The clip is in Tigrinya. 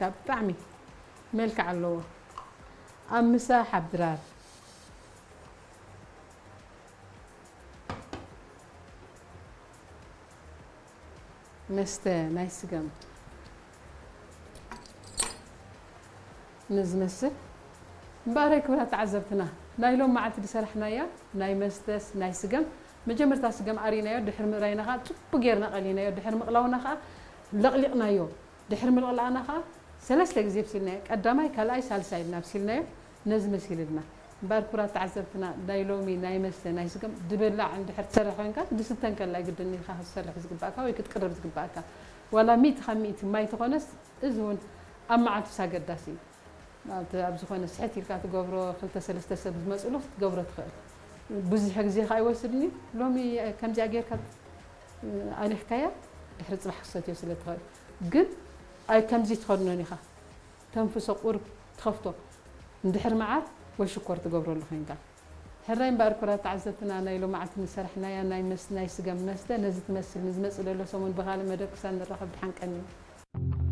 ካብ ብጣዕሚ መልክዕ ኣለዎ። ኣብ ምሳሕ ኣብ ድራር መስተ ናይ ስገም ንዝመስል። እምበኣረይ ክቡራት ተዓዘብትና፣ ናይ ሎም መዓልቲ ዝሰራሕናያ ናይ መስተስ ናይ ስገም፣ መጀመርታ ስገም ኣሪናዮ፣ ድሕሪ ምእራይና ኸዓ ጽቡቅ ጌርና ቀሊናዮ፣ ድሕሪ ምቕላውና ኸዓ ለቕሊቕናዮ። ድሕሪ ምልቕላእና ኸዓ ሰለስተ ግዜ ኣብሲልናዮ። ቀዳማይ፣ ካልኣይ፣ ሳልሳይ ኢልና ኣብሲልናዮ። ነዚ መሲልልና። እምበኣር ክቡራት ተዓዘብትና፣ ናይ ሎሚ ናይ መስተ ናይ ስገም ድብላዕ እንድሕር ትሰርሕ ኮይንካ፣ ድስተ እንከላ ግድን ኢኻ ክትሰርሕ ዝግባእካ ወይ ክትቅርብ ዝግባእካ። ዋላ ሚእቲ ካብ ሚእቲ ማይ ተኾነስ፣ እዚ እውን ኣብ መዓልቱስ ኣገዳሲ እዩ። ኣብቲ፣ ኣብ ዝኾነ ስሕት ኢልካ ትገብሮ፣ ክልተ ሰለስተ ሰብ ዝመጽሉ ክትገብሮ ትኽእል። ብዙሕ ግዜ ከኣ ኣይወስድን እዩ። ሎሚ ከምዚኣ ጌርካ ኣሊኽካያ፣ ድሕሪ ጽባሕ ክትሰትዮ ስለ ትኽእል። ግን ኣይ ከምዚ ትኸድኖን ኢኻ። ተንፍሶ፣ ቁሩብ ትኸፍቶ። እንድሕር መዓር ወይ ሽኮር ትገብረሉ ኮይንካ። ሕራይ እምበኣር ክቡራት ተዓዘብትና፣ ናይ ሎማዓንቲ ዝሰራሕናያ ናይ መስ-፣ ናይ ስገም መስተ ነዚ ትመስል። ንዝመጽእ ዘሎ ሰሙን ብኻልእ መደብ ክሳብ ንራኸብ፣ ደሓን ቀንዩ።